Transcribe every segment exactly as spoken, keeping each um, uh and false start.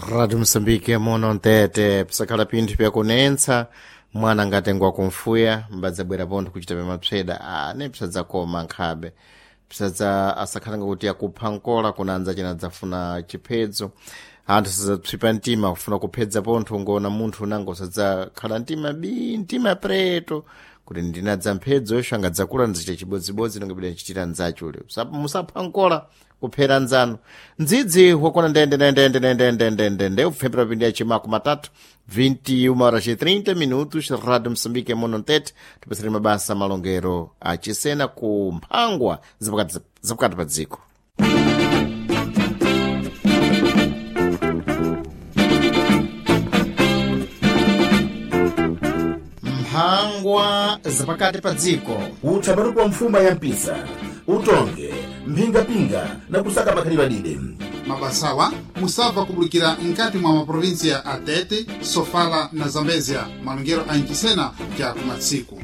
Rádio Moçambique muno mtete pisakhala pinthu pyakunentsa mwana angatengwa kumfuya mbadzabwera pontho kuchita pamapseda ane pisadzakoma nkhabe pisadza asakhala ngakuti akupha nkola kuna anzacena adzafuna chiphedzo anthu sadzapsipa mtima kufuna kuphedza pontho ngona munthu unango sadzakhala mtima bi mtima preto kuti ndinadza mphedzo yosho angadzakula nzichita chibodzibodzi nongapita nchitira nzachule musapha nkola kuphera nzanu ndzidzi wakona ndendendendendendendendende upfepera pindi ya chimako matatu vinte e uma horas e trinta minutos. Rádio Moçambique muno mtete tipasire mabasa malongero achisena ku mphangwa zapakati zapakati pa dziko. Mphangwa zapakati pa dziko. Utha matuku mfuma ya mpisa utonge mphingapinga na kusaka makhalidwe adide. Mabasawa musabva kubulikira nkati mwa maprovinsia a Tete, Sofala na Zambezia, malongero a Nchisena ja kumatsiku.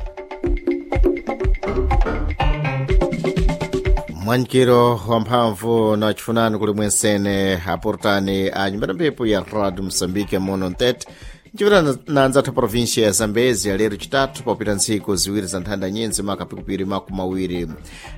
Mwankiro wamphamvu na chifunani kuli mwensene aportani a nyumba ya mphepo ya Rádio Moçambique muno mtete ncipita na anzathu província ya Zambezi lero chitatu papita ntsiku ziwiri za nthanda nyenzi makapikupiri makumi awiri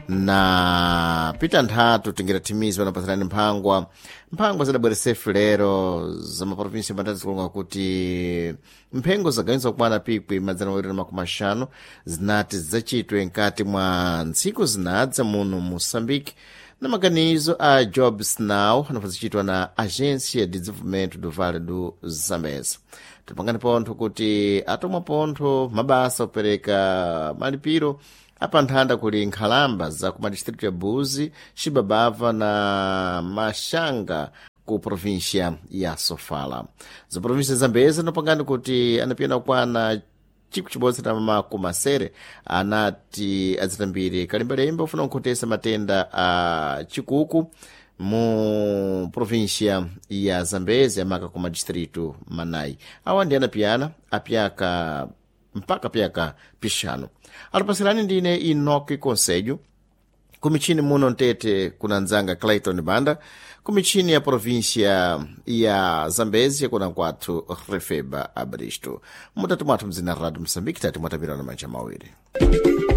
na pita nthatu tingira thimizi panapatsirani mphangwa mphangwa zidabweresefu lero za maprovinsia matatu zikulonga kuti mphengo zagawinza kukwana pikwi madzana mawiri na makumi axanu zinati zidzachitwe nkati mwa ntsiku zinadza muno Moçambique na maganizo a Jobs Now anafazichitwa na Agência de Desenvolvimento do Vale do Zambeze. Tipangani pontho kuti atomwa pontho mabasa opereka malipiro apanthanda kuli nkhalamba za ku madistritu ya Buzi, Xibabava na Maxanga ku província ya Sofala. Za província Zambeze anapangani kuti anapiyana kukwana chiku chibodzi na makumi asere anati adzitambire kalembalemba ufuna kukhotesa matenda a chikuku mu província ya Zambezi amaka ku madistritu manayi awa ndi anapiyana apyaka mpaka pyaka pixanu. Alipasirani ndine Enoki Conselho kumichini muno mtete kuna nzanga Clayton Banda, kumichini ya província ya Zambezia kuna kwathu Refeba Abristo. Mutatu mwathu mzina Rádio Moçambique tati mwatapirana manja mawiri.